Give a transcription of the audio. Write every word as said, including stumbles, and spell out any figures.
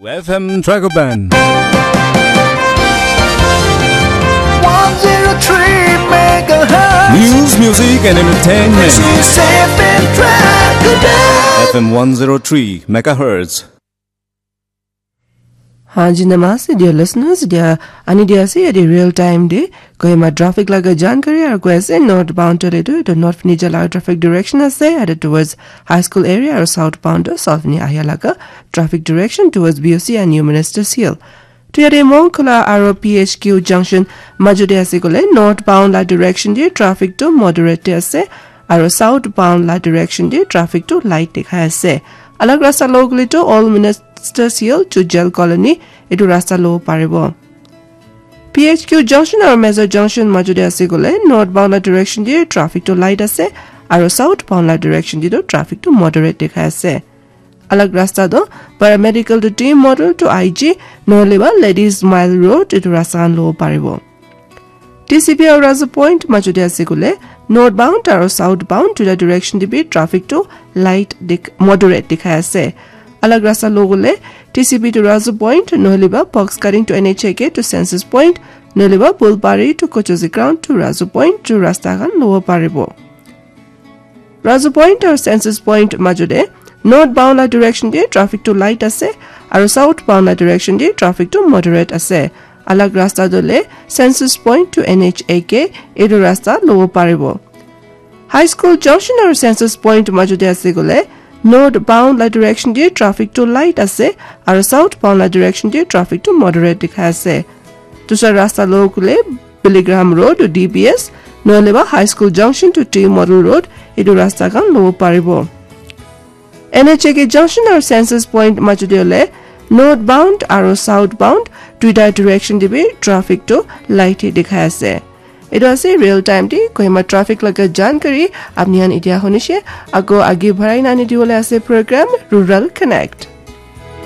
F M Dragon Band. One zero three megahertz. News, music, and entertainment. This is F M Dragon Band. F M one zero three megahertz. Hanji namaste, dear listeners. Dia ani dia ase yate real time de Kohima traffic laga jankari aru koi ase northbound to letu to north fini jala traffic direction ase yate towards high school area aru southbound to south fini ahia laga traffic direction towards B O C and New Minister's Hill. To yate Mongkhola aru P H Q junction majo de ase kole northbound la direction de traffic to moderate de ase aru southbound la direction de traffic to light dikhai ase. Alag rasta lo kole to Old Minister's Hill to Jail Colony etu rasta lo paribo. P H Q junction aru Major junction majo de ase kole northbound la direction de traffic to light ase aru southbound la direction de to traffic to moderate dikhai ase. Alag rasta to paramedical to team model to I G nohole ba Ladies Mile Road etu rasta khan lo paribo. T C B aru Razu Point majo de ase kole northbound aru southbound to the direction de bi traffic to light dik moderate dikhai ase. Alag rasta lo kole T C B to Razu Point nohole ba box cutting to N H A K to Census Point nohole ba Bulbari to Kochozi Ground to Razu Point to rasta khan lo paribo. Razu Point aru Census Point majo de northbound la direction de traffic to light ase aru southbound la direction de traffic to moderate ase. Alag rasta to le Census Point to N H A K etu rasta lo paribo. High School junction aru Census Point majo de ase kole northbound la direction de traffic to light ase aru southbound la direction de traffic to moderate dikhai ase. Dusra rasta lo kole Billy Graham Road to D B S nohole ba High School junction to T Model Road etu rasta khan lo paribo. N H A K junction aru Census Point majo de le northbound aru southbound duita direction de bi traffic to light hi dikhai ase. Etu ase real time de Kohima traffic laga jankari apni khan etia hunishe. Ako age bharai nani diwole ase program Rural Connect.